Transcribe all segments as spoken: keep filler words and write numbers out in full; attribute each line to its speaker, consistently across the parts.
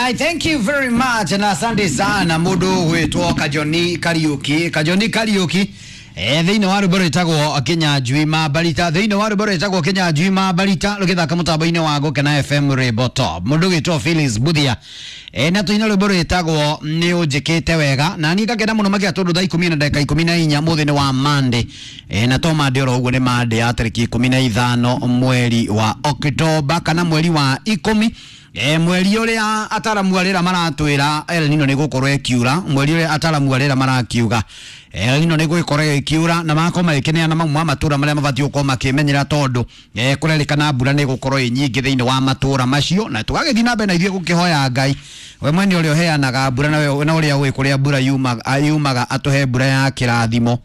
Speaker 1: Alright, thank you very much na asante sana mundu gwitwo Kajoni Kariuki. Kajoni Kariuki eh thiini wa rwimbo rwitagwo Kenya Njui Mabarita, thiini wa rwimbo rwitagwo Kenya Njui Mabarita rugithaka mutambo-ini wa Gukena F M Rainbow Top. Mundu gwitwo Phyllis Buthia eh na tuina rwimbo rwitagwo ni unjikite wega na ni ngakena muno makia tondu thaa ikumi na ndagika ikumi na inya muthi ni wa Monday eh na to Monday oro uguo ni Monday ya tariki ikumi na ithano mweri wa Oktoba kana mweri wa ikumi. E, mweri uria ataramu arira maratwira El Nino ni gukorwo ikiura, mweri uria ataramu arira marakiuga El Nino ni gukorwo ikiura na makorwo magikineana mamwe ma matura maria mabatiĩ gukorwo makimenyera tondu e, kurerikana mbura ni gukorwo ĩ nyingĩ thĩinĩ wa matura macio, na tugagĩthiĩ na mbere na ithuĩ gũkĩhoya Ngai we mwene ũrĩa ũheanaga mbura na we na ũrĩa ũĩ kũrĩa mbura yumaga yumaga atũhe mbura ya kĩrathimo.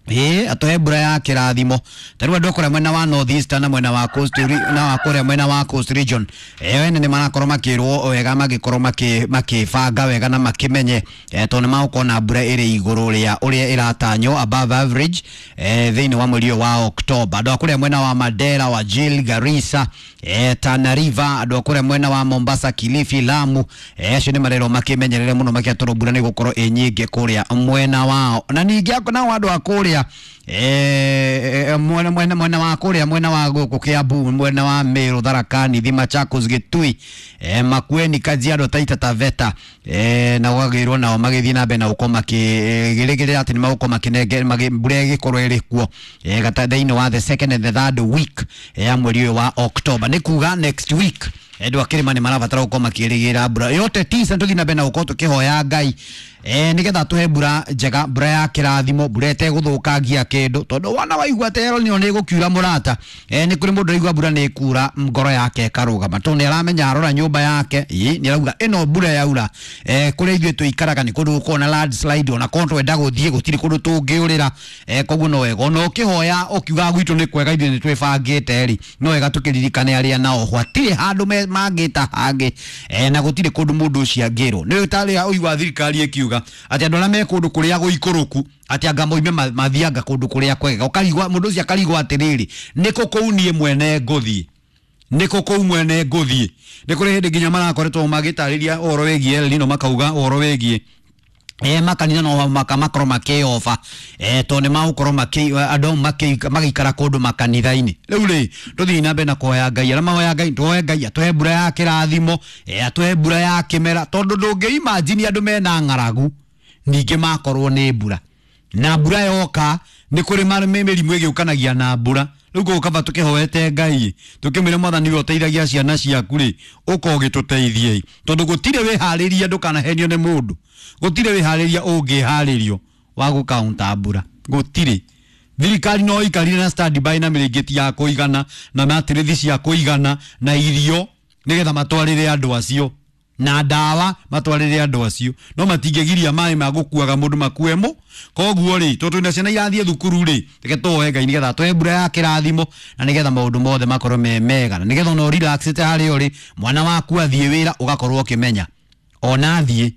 Speaker 1: Ĩĩ atuhe mbura ya kĩrathimo. Ta rĩu andũ a kũrĩa mwena wa North Eastern na mwena wa Coast na wa kũrĩa mwena wa Coast Region eh ene nĩ marakorwo makĩrwo wega magĩkorwo makĩbanga wega na makĩmenye eh tondũ nĩ magũkorwo na mbura ĩrĩ igũrũ rĩa ũrĩa ĩratanywo above average eh thĩinĩ wa mweri ũyũ wa October. Andũ a kũrĩa mwena wa Mandera, wa Wajir, Garissa, eh Tana River, andũ a kũrĩa mwena wa Mombasa, Kilifi, Lamu eh acio nĩ marerwo makĩmenyerere mũno makĩria tondũ mbura nĩ ĩgũkorwo ĩ nyingĩ kũrĩa mwena wao. Na ningĩ nao andũ a kũrĩa eh mwena mwena mwena wa kuria mwena wa guku Kiambu, mwena wa Meru, Tharaka Nithi, Machakos, Gitui, eh Makueni, Kajiado, Taita Taveta eh na gwagirwo nao magithii na mbere na gukorwo makigirigirira ati ni magukorwo makinenge mbura igikorwo iri kuo eh gata thĩinĩ wa the second and the third week ya mweri ũyũ wa October, ni kuga next week andũ a kĩrĩma nĩ marabatara gũkorwo makĩrĩgĩra mbura yote tisa. Tũthiĩ na mbere na gũkorwo tũkĩhoya Ngai eh nigetha tũhe mbura njega, mbura ya kĩrathimo, mbura ĩtegũthũkangia kĩndũ, tondũ wana waigua atĩ El Nino nĩ ĩgũkiura mũrata eh nĩ kũrĩ mũndũ ũraigua mbura nĩ ĩkura ngoro yake ĩkarũgama tondũ nĩ aramenya arora nyũmba yake ĩ nĩ arauga ĩno mbura yaura eh kũrĩa ithuĩ tũikaraga nĩ kũndũ gũkoragwo na landslide, ona korwo twenda gũthiĩ gũtirĩ kũndũ tũngĩũrĩra eh koguo no wega ona ũkĩhoya ũkiuga gwitũ nĩ kwega ithuĩ nĩ twĩbangĩte rĩ, no wega tũkĩririkane arĩa nao hatirĩ handũ mangĩta hangĩ eh na gũtirĩ kũndũ mũndũ ũcio angĩrwo. Nĩ ũtarĩa ũigua thirikari ĩkiuga atĩ andũ arĩa me kũndũ kũrĩa gũikũrũku atĩ anga moime mathianga kũndũ kũrĩa kwega, ũkarigwa mũndũ ũcio akarigwo atĩrĩrĩ nĩkũ kũu niĩ mwene ngũthiĩ, nĩkũ kũu mwene ngũthiĩ. Nĩ kũrĩ hĩndĩ nginya marakoretwo magĩtarĩria ũhoro wĩgiĩ El Nino makauga ũhoro wĩgiĩ eh makanitha no makamakorwo makĩoba eh tondũ nĩ magũkorwo makĩ andũ magĩikara kũndũ makanitha-inĩ. Rĩu rĩ tũthiĩ na mbere na kũhoya Ngai, arĩa mahoya Ngai tũhoe Ngai atũhe mbura ya kĩrathimo eh atũhe mbura ya kĩmera, tondũ ndũngĩ imagine andũ mena ng'aragu ningĩ makorwo nĩ mbura na mbura yoka nĩ kũrĩ mĩrimũ ĩgĩũkanagia na mbura. Rĩu gũkaba tũkĩhoete Ngai tũkĩmwĩra Mwathani we ũteithagia ciana ciaku rĩ ũka ũgĩtũteithie, tondũ gũtirĩ wĩharĩria ndũkanahenio nĩ mũndũ, gũtirĩ wĩharĩria ũngĩharĩrio wa gũkaunta mbura, gũtirĩ. Thirikari no ikarire na standby na mĩrĩngĩti ya kũigana na matirithi cia kũigana na irio nĩgetha matwarĩre andũ acio na ndawa matwarĩre andũ acio, no matingĩgiria maĩ ma gũkuaga mũndũ makue mo. Koguo rĩ tondũ twĩna ciana irathiĩ thukuru rĩ reke tũhoe Ngai nĩgetha tũhe mbura ya kĩrathimo na nĩgetha maũndũ mothe makorwo me mega na nĩgetha ona ũrelaxĩte harĩa ũrĩ mwana waku athiĩ wĩra ũgakorwo ũkĩmenya ona athiĩ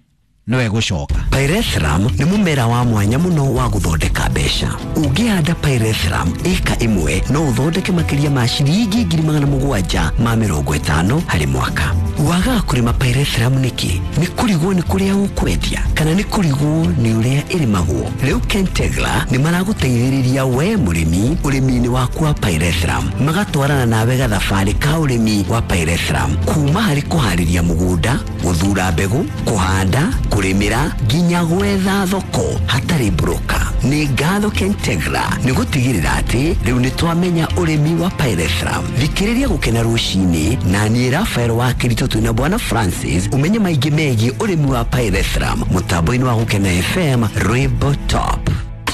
Speaker 1: nowe gũcoka.
Speaker 2: Pyrethrum nĩ mũmera wa mwanya mũno wa gũthondeka mbeca. Ũngĩhanda Pyrethrum ĩka ĩmwe no ũthondeke makĩria ma ciringi ngiri magana mũgwanja ma mĩrongo ĩtano harĩ mwaka. Wagaga kũrĩma Pyrethrum nĩkĩ? Nĩ kũrigwo nĩ kũrĩa ũkwendia kana nĩ kũrigwo nĩ ũrĩa ĩrĩmagwo? Rĩu Kentegra nĩ maragũteithĩrĩria we mũrĩmi ũrĩmi-inĩ waku wa Pyrethrum, magatwarana nawe gathabarĩ ka ũrĩmi wa Pyrethrum kuma harĩ kũharĩria mũgũnda, gũthura mbegũ, kũhanda, kũrĩmĩra nginya gwetha thoko hatarĩ broker. Nĩ ngatho Kentegra nĩ gũtigĩrĩra atĩ rĩu nĩ twamenya ũrĩmi wa Pyrethrum. Thikĩrĩria Gũkena rũcinĩ na niĩ Rafael wa Kĩritũ twĩna Bwana Francis ũmenye maingĩ megiĩ ũrĩmi wa Pyrethrum mũtambo-inĩ wa Gũkena F M Rainbow Top.